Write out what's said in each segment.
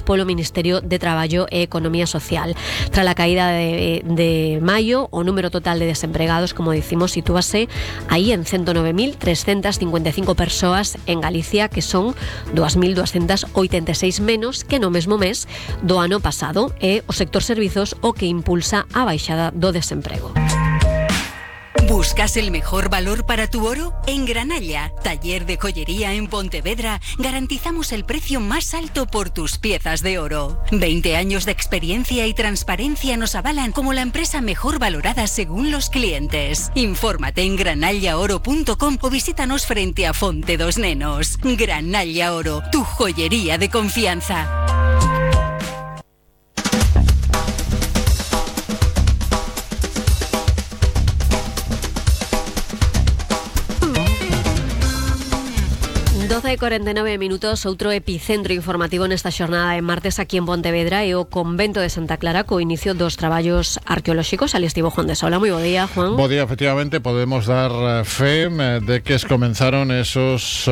polo Ministerio de Traballo e Economía Social. Tras a caída de maio, o número total de desempregados, como dicimos, sitúase aí en 109.355 persoas en Galicia, que son 2.286 menos que no mesmo mes do ano pasado. É o sector servizos o que impulsa a baixada do desemprego. ¿Buscas el mejor valor para tu oro? En Granalla, taller de joyería en Pontevedra, garantizamos el precio más alto por tus piezas de oro. 20 años de experiencia y transparencia nos avalan como la empresa mejor valorada según los clientes. Infórmate en granallaoro.com o visítanos frente a Fonte dos Nenos. Granalla Oro, tu joyería de confianza. De 49 minutos, outro epicentro informativo nesta xornada de martes aquí en Pontevedra é o convento de Santa Clara co inicio dos traballos arqueolóxicos. Ali estivo Juan de Sola. Moi bo día, Juan. Bo día, efectivamente, podemos dar fe de que comenzaron esos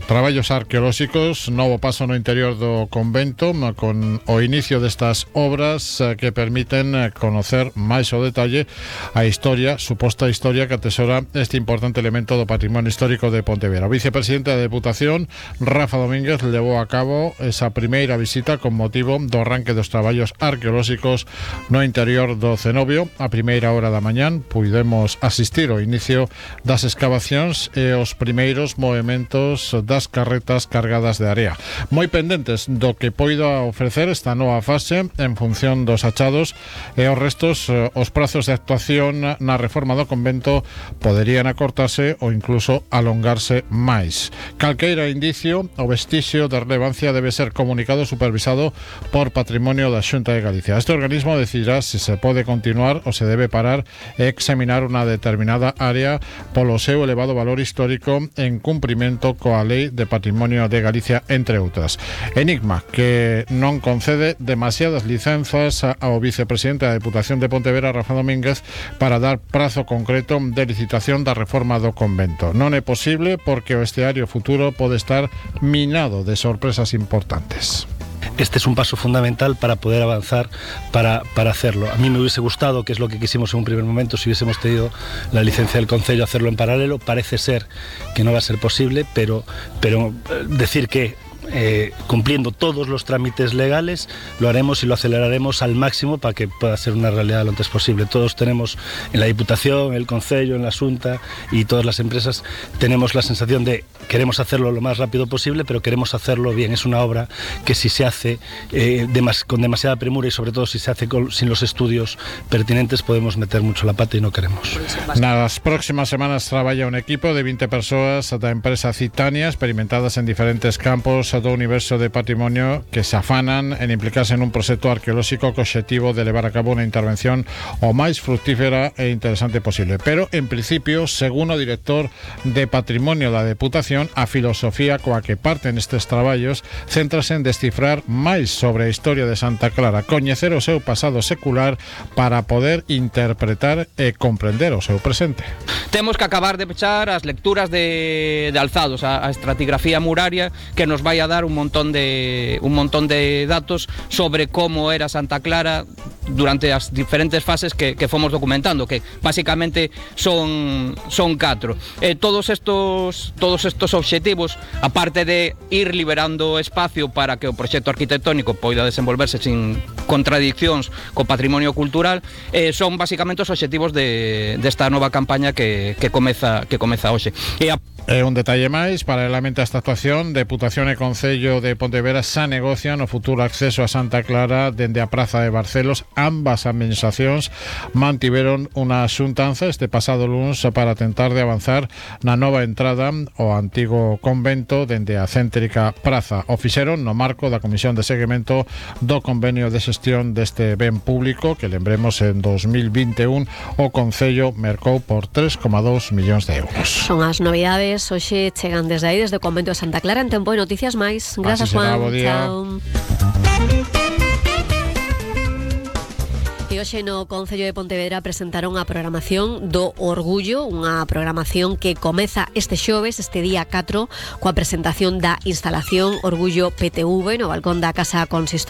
traballos arqueolóxicos, novo paso no interior do convento con o inicio destas obras que permiten conocer máis o detalle a historia, suposta historia que atesora este importante elemento do patrimonio histórico de Pontevedra. O vicepresidente da Deputación, Rafa Domínguez, levou a cabo esa primeira visita con motivo do arranque dos traballos arqueolóxicos no interior do cenobio. A primeira hora da mañán puidemos asistir ao inicio das escavacións e os primeiros movementos das carretas cargadas de area. Moi pendentes do que poida ofrecer esta nova fase en función dos achados e os restos, os prazos de actuación na reforma do convento poderían acortarse ou incluso alongarse máis. Calqueira indicio ou vestixio de relevancia debe ser comunicado e supervisado por Patrimonio da Xunta de Galicia. Este organismo decidirá se se pode continuar ou se debe parar e examinar unha determinada área polo seu elevado valor histórico en cumprimento coa Lei de Patrimonio de Galicia, entre outras. Enigma que non concede demasiadas licenzas ao vicepresidente da Deputación de Pontevedra, Rafa Domínguez, para dar prazo concreto de licitación da reforma do convento. Non é posible porque o estiario futuro pode estar minado de sorpresas importantes. Este es un paso fundamental para poder avanzar, para hacerlo. A mí me hubiese gustado, que es lo que quisimos en un primer momento, si hubiésemos tenido la licencia del Concello, hacerlo en paralelo. Parece ser que no va a ser posible, pero decir que cumpliendo todos los trámites legales lo haremos y lo aceleraremos al máximo para que pueda ser una realidad lo antes posible. Todos tenemos en la Diputación, en el Concello, en la Xunta y todas las empresas tenemos la sensación de queremos hacerlo lo más rápido posible, pero queremos hacerlo bien. Es una obra que si se hace con demasiada premura y sobre todo si se hace sin los estudios pertinentes podemos meter mucho la pata y no queremos. Nas próximas semanas traballa un equipo de 20 persoas da empresa Citania, experimentadas en diferentes campos do universo de patrimonio, que se afanan en implicarse en un proxecto arqueolóxico co obxectivo de levar a cabo unha intervención o máis fructífera e interesante posible. Pero, en principio, según o director de Patrimonio da Deputación, a filosofía coa que parten estes traballos céntrase en descifrar máis sobre a historia de Santa Clara, coñecer o seu pasado secular para poder interpretar e comprender o seu presente. Temos que acabar de pechar as lecturas de alzados, a estratigrafía muraria, que nos vai a dar un montón de datos sobre como era Santa Clara durante as diferentes fases que fomos documentando, que basicamente son 4. Todos estos obxectivos, aparte de ir liberando espacio para que o proxecto arquitectónico poida desenvolverse sin contradiccións co patrimonio cultural, son basicamente os obxectivos desta nova campaña que comeza hoxe. Un detalle máis, paralelamente a esta actuación, Deputación e Concello de Pontevedra xa negocian o futuro acceso a Santa Clara dende a Praza de Barcelos. Ambas administracións mantiveron unha xuntanza este pasado luns para tentar de avanzar na nova entrada ao antigo convento dende a céntrica praza. O fixeron no marco da Comisión de Seguimento do Convenio de Xestión deste ben público que, lembremos, en 2021 o Concello mercou por 3,2 millóns de euros. Son as novidades. Hoxe chegan desde aí, desde o convento de Santa Clara, en Tempo e Noticias Máis. Grazas, Juan. Chao. E hoxe no Concello de Pontevedra presentaron a programación do Orgullo, unha programación que comeza este xoves, este día 4, coa presentación da instalación Orgullo PTV no balcón da Casa Consistorial.